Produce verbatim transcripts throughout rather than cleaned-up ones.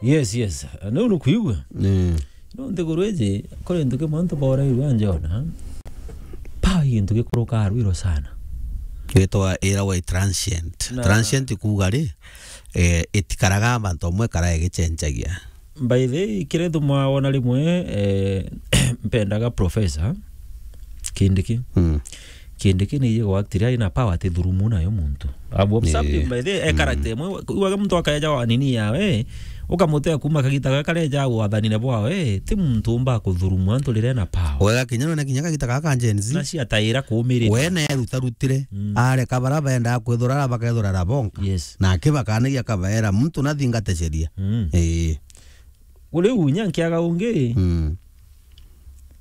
Yes, yes. Nau nukwigua? Mm. No nthiguru iji, kuri ntuki muntu bora iwa njona. Power i gintu gikuruka rwiro sana. Gitwa ira wa transient. Na transient kuuga ri, eh, itikaraga bantu amwe kara igichenjagia. By the way, kire thumwa wona rimwe, eh, mpendaga professor Kindiki. Mm. Kindiki ni yego actually ari na power ati thurumu nayo muntu. Abu something by the way, e character imwe, uga muntu akaeja wa nini yawe, ukamutea kuma kagita gaka kareja wathanine bwawe, ti muntu umba kuthurumu antu rire na power. Wega kinya none kinya kagita gaka Gen Z. Na cia taira kumirite. We ne erutarutire, mm, areka bara benda kwithura, bakethura rabonka. Yes. Na akibakanagia kabaera, muntu nathingate sheria. Mm. Ee. Riu nya nkiaga ungi, mm,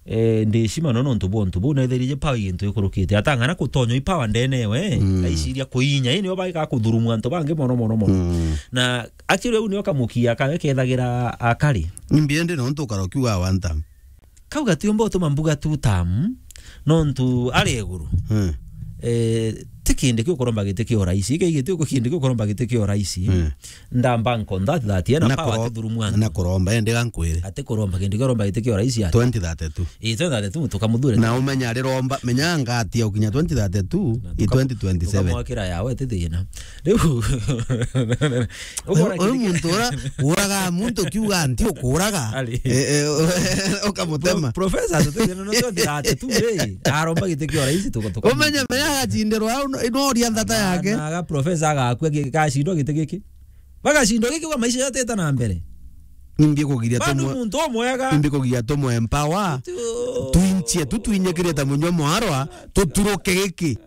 eh, ndicima no nontu bwa untu buu, naithirije power i gintu gikurukite. Atang'ana kutonywa i power ndene we, mm, aiciria kuinya, ii nio baika kuthurumu antu bangi mono, mono, mono. Mm. Na actually, riu nio kamukia kawe kethagira akari. Imbi indi nontu ukara ukiuga one term. Kau gatiumba utuma mbuga two term, nontu ari iguru. Mm. Eh, ti kindi kiu kuromba giti kia urais. Iki giti uko kindi kiu kuromba giti kia urais. Mm. Ndamba nkonda ati that ena na power kuro-, ati thurumu antu. Na kuromba, ende gankwire. Ati kuromba kindi kiu kuromba giti kia urais ati. Twenty thirty-two. Ii, twenty thirty-two tukamuthure. Na umenya ari romba, menya ngati ya ukinya twenty thirty-two, na i tuka-, twenty twenty-seven. Tukamwakira yawe ti thina. Riu, uyu, uyu muntu ura uraga muntu kiuga nti ukuraga. Ari. Eh, eh, ukamutema. Pro-, professor, tutethia no twenty thirty-two ri, aromba giti kia urais tuko, tuko. Umenye menya agacindirwa au no, no ria nthata yake. Na aga professor agakua gi-, gacindwa giti giki. Bagacindwa giki kwa maisha yatete na mbere. Nimbi kugiria. Bado tumwe-, muntu umwega. Nimbi kugiria tumwe empower. Tu- twinchie, tu twinyikirite munyo mwarwa, tuturuke giki.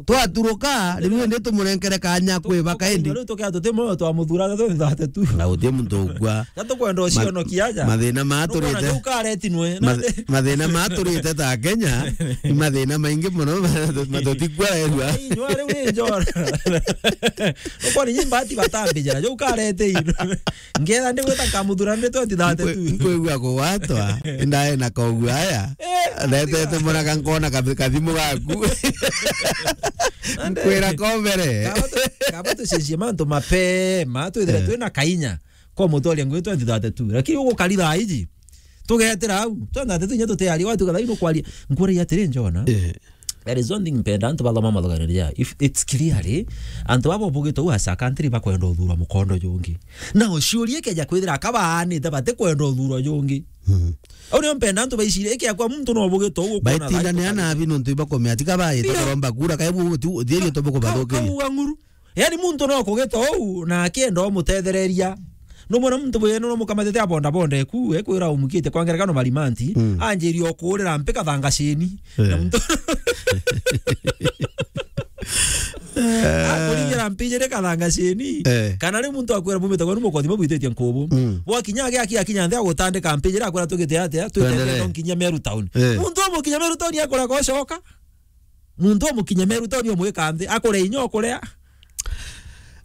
Twaturuka, riu indi tumurenkere kanya kwibaka indi. Riu tukia tuti moyo twamuthura twenty thirty-two. Na uti muntu ugwa. Na tukwenda ucionokia aja. Mathina maturite. Nukwona ukaretinwe. Math-, mathina maturite ta Kenya, ni mathina maingi mono, ma-, matutikwa erua. Inywa riu ni njora. Ukwona nyi mbati batambijira, jo ukarete ino. Ngetha ndi gwita nkamuthura ndi twenty thirty-two. Nkwe-, nkwigua kugwatwa, ndae na kogu aya. Eh, ndetete muraka nkona kathi-, kathimu gaku. Nande. Nkwira ko mbere. Kaba tu-, kaba tucenjie mantu mapema, twithire, eh, twina kainya. Kwa mutwaria ngui twenty thirty-two. Lakini ugukari thaa iji. Tugetira au. Twenty thirty-two inya tutiaria, watuka thaa ino kwaria. Nkuragia atiri njona. Eh. There is one thing mpenda antu bathoma mathogereria. If it's clearly, antu baba bugite u as a country bakwenda uthura mukondo jungi. Na uciuria ikeja kwithira akabaanite batikwenda uthura jungi. Mhm. Au nio mpenda antu baicirie ikiakwa muntu no bugite u ukona. Baitindanea nabi nontu ibakomea tika baite kuromba kura, kai bu-, tu-, thierio tu bukubathukiria. Ka-, kauga ng'uru. Yani muntu no kugita uu na akienda umutethereria. Numwona muntu bwene no mukamatete abonda bonda eku, ekwira umukite kwa ngerekano marimanti, mm, anjirie okurira mpi kathanga cini. Eh. Na muntu akuringira mpi jiri kathanga cini. Eh. Kana ri muntu akwira bumite kwenu mukothi mubwititie nkubu. Mm. Bwakinya agi aki akinya nthi agutandika mpi jiri akwira tugite atia, twitete no nkinya Meru town. Eh. Muntu umukinya Meru town akura gocoka. Muntu umukinye Meru town umwika nthi, akure inya ukurea.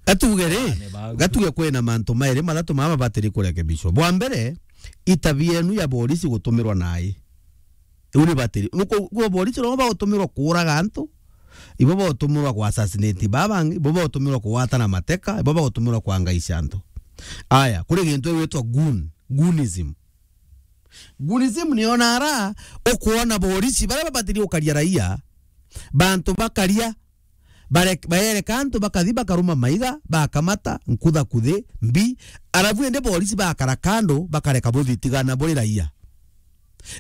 Gatuge ri, ah, ne bagu. Gatuge kwina mantu mairi mathatu mama mabatiri kurekebishwa. Bwa mbere, itabia enu ya borisi gutumirwa nai. Iu ni batiri. Nuko, nuko borisi no bagutumirwa kuuraga antu, ibo bagutumirwa ku assassinate baba bangi, ibo bagutumirwa kugwatana mateka, ibo bagutumirwa kwangaisha antu. Aya, kuri gintu gigwitwa goon, goonism. Goonism ni ona ara ukwona borisi baria babatiri gukaria raia, bantu bakaria, bare-, baereka antu bakathi bakaruma maiga, bakamata, nkutha kuthi, mbi, arabu indi borisi bakara kando, bakareka buthitigana buri raia.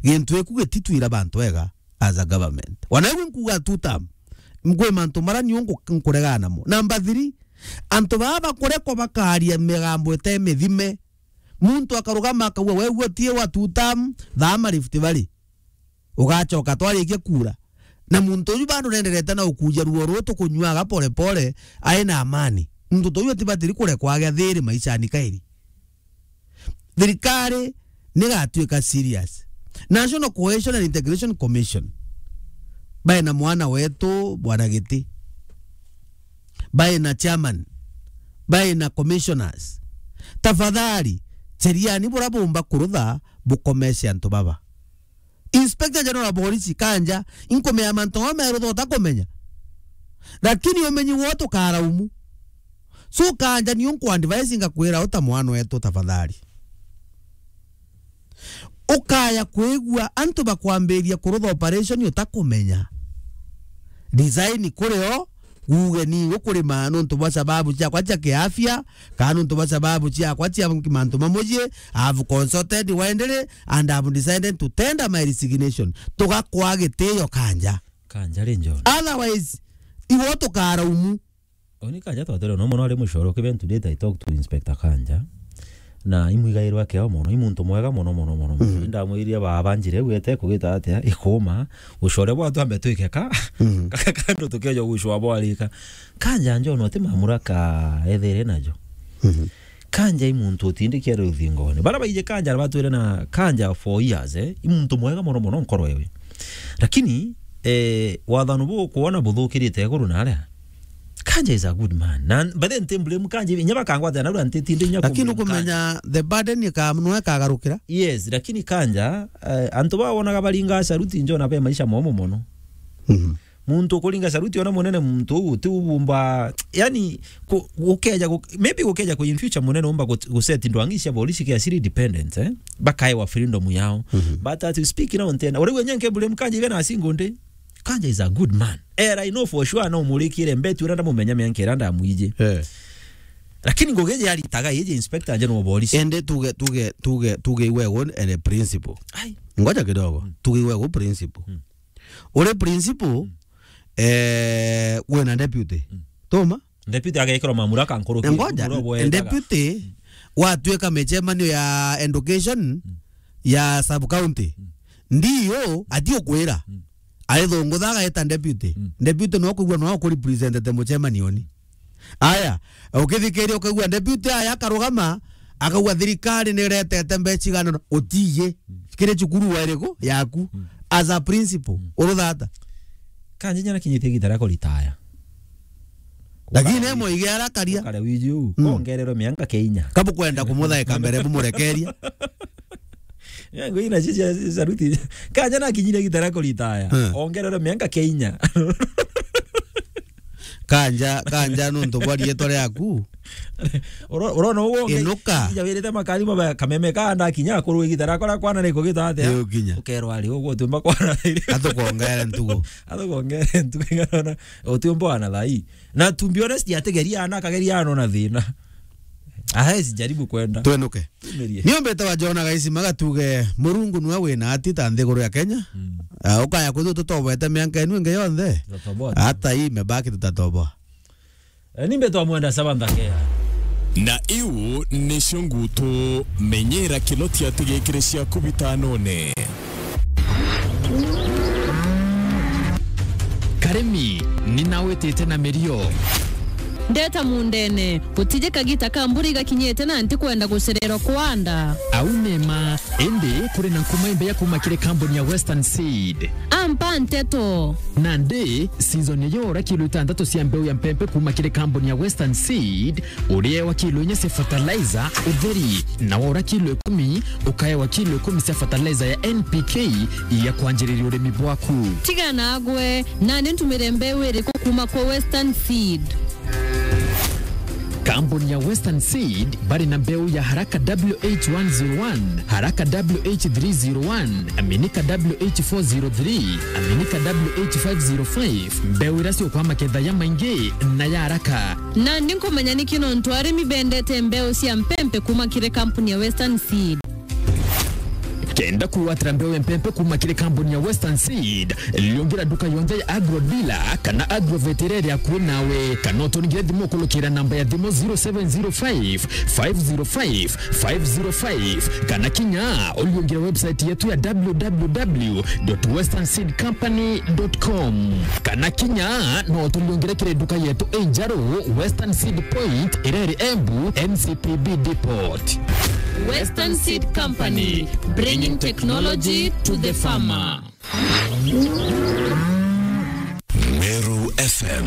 Gintu giku gititwira bantu ega as a government. Wana igu nkuga two term, nkwi mantu mara niu nku-, nkuregana namo. Number three, antu baa bakurekwa bakaria migambo ite mithime, muntu akarugama akauga, "We, uo tie wa two term, thaama Rift Valley." Ugacoka twarikia kuura. Na muntu uyu bado nenderete na ukuja ruo ruu tukunyuaga pole pole, ai na amani. Muntu ta uyu atibatiri kurekwa agia thiri maishani kairi. Thirikari nigatuika serious. National Cohesion and Integration Commission. Bae na mwana wetu, Bwana Giti. Bae na chairman. Bae na commissioners. Tafadhali, cheriani bura bumba kurutha bukomeshe antu baba. Inspector General wa Polisi, kanja, inkumea mantu mama merutha utakumenya. Lakini umenyi wote ukaraumu. So, Kanja, niyo nkwa advise ngakwira uta mwana wetu tafadhali. Ukaya kwigua antu bakwambiria kurutha operation utakumenya. Resign kuri o, uge ni ukurima nontu bwa sababu ciakwa cia kiafya, kana nontu bwa sababu ciakwa cia mantu mamwe, I have consulted widely and I have decided to tender my resignation. Tugakwa gitio Kanja. Kanja ri John. Otherwise, iwe tukaraumu. Oni Kanja twatwire no mono ari mucore, even today I talk to Inspector Kanja. Na imwigairwa keo mono, i muntu mwega mono, mono, mono, mono. Mhm. Ndamwirire baba njire gwete kugita atia, ikuma, ucore bwa twambe twike ka, Mhm. ka-, ka-, kando tukeja gucwa bwarika. Kanja njo no ti mamura ka ethere najo. Mhm. Kanja i muntu utindikia ruthingone. Bara baije Kanja batwire na Kanja for years, eh? I muntu mwega mono mono nkoro ewe. Lakini, eh, wathano bu kuona buthukirite iguru na aria. Kanja is a good man. Na but then nti blame Kanja, inya bakangwata na rua ntitinde inya Lakini ku blame Kanja. Ukumenya the burden ika-, no ikagarukira. Yes, lakini Kanja, eh, antu ba wonaga baringa Sharuti njo na be maisha momo mono. Mhm. Muntu ukuringa Sharuti ona munene muntu uu uti ubumba, yani, ku-, gukeja gu-, maybe gukeja ku in future munene umba gu-, gu set ndwangi cia borisi ke asiri dependent, eh? Bakaewa freedom yao. Mhm. But as we speak now, ntena, uri wenye nke blame Kanja even a single day. Kanja is a good man. Eh, I know for sure no murikire mbeti ura ndamumenya mianka ira ndamwiji. Eh. Lakini ngugi iji aritaga iji inspector nje no borisi. Ende tuge, tuge, tuge, tuge iwe gun ele principal. Ai. Ngoja kidogo. Mm. Tuge iwe gun principal. Mm. Uri principal, Mm. eh, wina deputy. Mm. Tuma? Deputy agekirwa mamuraka nkuruki. Ngoja, deputy, Mm. gwatuika micemanio ya education, Mm. ya sub county. Mm. Ndio, ati ukwira. Mm. Aithungutha agaita deputy. Mm. Deputy no kwigua no kurepresentete mucemanioni. Aya, ukithikiria ukaigua deputy aya akarugama, akauga thirikari ni iretete mbeca igana na, utiye. Mm. Kiri cukuru wa iriku yaku? Mm. As a principal, Mm. uruthata. Kanja nyana kinyitie gitara ko ritaya. Lakini Ukare emo igi arakaria. Ukare wiji u, Mm. kongererwe mianka keinya. Kabu kwenda kumuthaika mbere bumurekeria. Yangu ina cia, cia, cia Sharuti. Kanja na kinyire gitara ko ritaya. Hmm. Ongererwe mianka keinya. Kanja, Kanja nuntu bwa rietwa riaku. Uro-, urona uguo ngai. Inuka. Ija wirite makari maba kameme ka nda kinya akuru igitara kora kwana ni kugita atia. Ni ukinya. Ukerwa ari uguo tumba kwana. Atukwongere ntugu. Atukwongere ntugu ngana. Utiumba ana thai. Na to be honest, ategeria ana, akageria ana ona thina. Ahesi jaribu kwenda. Twenuke. Tumerie. Niumbite wa Jona Gaisi magatuge, Murungu nwe wina ati ta nthiguru ya Kenya. Mm. Ah, ukaya kwithu tutobete mianka enu ingi yonthe. Tutatoboa tu. Hata hii imebaki tutatoboa. Eh, nimbe twamwenda Sabantha Kea. Na iu nicio ngutu, menyera kiloti atigikire ciaku bitanone. Karimi, ni nawitite na mirio. Ndeta mundene, gutije kagita ka mbura igakinyite na ntikwenda gucererwa kwanda. Au nema, indi kuri na nkuma imbeya kuma kiri kambuni ya Western Seed. Ampa nteto. Nandi, season ya yora kilo itantatu cia mbeu ya mpempe kuma kiri kambuni ya Western Seed, uriewa kilo inya cia fertilizer utheri, na wora kilo ikumi, ukaewa kilo ikumi cia fertilizer ya N P K ya kwanjiriria urimi bwaku. Tiga nagwe, nani ntumire mbeu iriku kuma kwa Western Seed? Kambuni ya Western Seed bari na mbeu ya Haraka W H one zero one, Haraka W H three zero one, Aminika W H four zero three, Aminika W H five zero five, mbeu iria ciukwa maketha ya maingi na ya haraka. Nandi nkumenya niki nontu arimi bendete mbeu cia mpempe kuma kiri kampuni ya Western Seed. Kenda kwigwatira mbeu ya mpempe kuma kiri kampuni ya Western Seed, liungira nduka yonthe ya Agro Dealer kana Agrovet iria iri akui nawe, kana uturingire thimu ukurukira namba ya thimu zero seven zero five, five zero five, five zero five, kana kinya uliungire website yetu ya w w w dot western seed company dot com. Kana kinya no turiungire kiri nduka yetu injeru, Western Seed Point, iria iri Embu, N C P B Depot. Western Seed Company, bringing technology to the farmer. Meru F M,